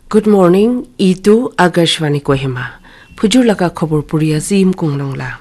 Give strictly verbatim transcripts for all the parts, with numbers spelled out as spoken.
Good morning, itu Akashvani Kohima. Phujur laga khobor puri ase Yimkung Longla.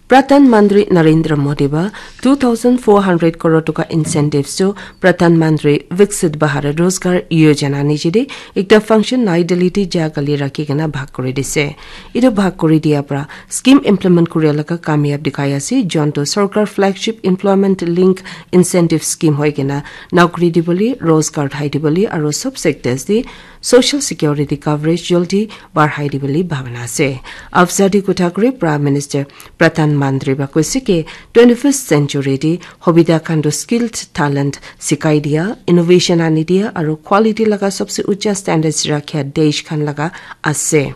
Pradhan Mantri Narendra Modi ba two thousand four hundred crore toka incentives to Pradhan Mantri Viksit Bharat Rozgar Yojana nijide ekta function Nai Delhi te ja kali rakhi kena bhag kuri dise. Itu bhag kuri dia pra scheme implement kuri laga kamyab dikhai ase, jonto sarkar flagship employment link incentive scheme hoi kena naukri dibole, rozgar thai dibole, aro sub sectors de social security coverage joldi barhai dibole bhabana ase. Afzadi kotha kuri Prime Minister Pradhan Mantri ba koise ke twenty-first century de hobida khan to skilled talent sikai dia, innovation ani dia, aro quality laga sabse ucha standards rakhya desh khan laga ase.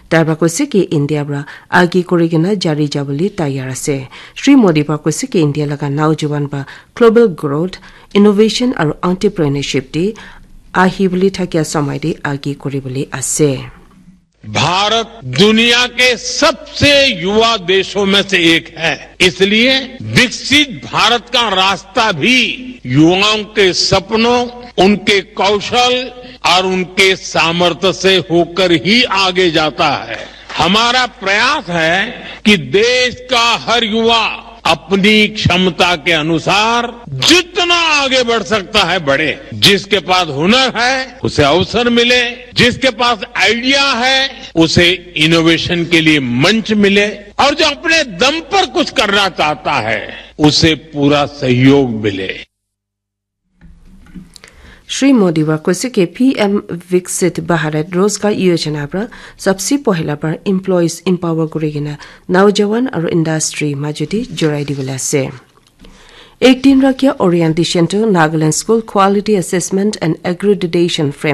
Tarba koise ki India pra agi kuri kena jari jabole tayar ase. Shri Modi pra koise ki India laga naujawan ba global growth, innovation aru entrepreneurship te ahi bole thakia samai te agi kuri bole ase. भारत दुनिया के सबसे युवा देशों में से एक है, इसलिए विकसित भारत का रास्ता भी युवाओं के सपनों, उनके कौशल और उनके सामर्थ्य से होकर ही आगे जाता है। हमारा प्रयास है कि देश का हर युवा अपनी क्षमता के अनुसार जितना आगे बढ़ सकता है, बढ़े। जिसके पास हुनर है, उसे अवसर मिले, जिसके पास आइडिया है, उसे इनोवेशन के लिए मंच मिले, और जो अपने दम पर कुछ करना चाहता है, उसे पूरा सहयोग मिले। Shri Modi wa koise ke P M Viksit Bharat Rozgar Yojana pra sabse pohila pra employees empower kuri kena naujawan aru industry majoti jorai dibole ase. Ek din rakya orientation to Nagaland School Quality Assessment and Accreditation Framework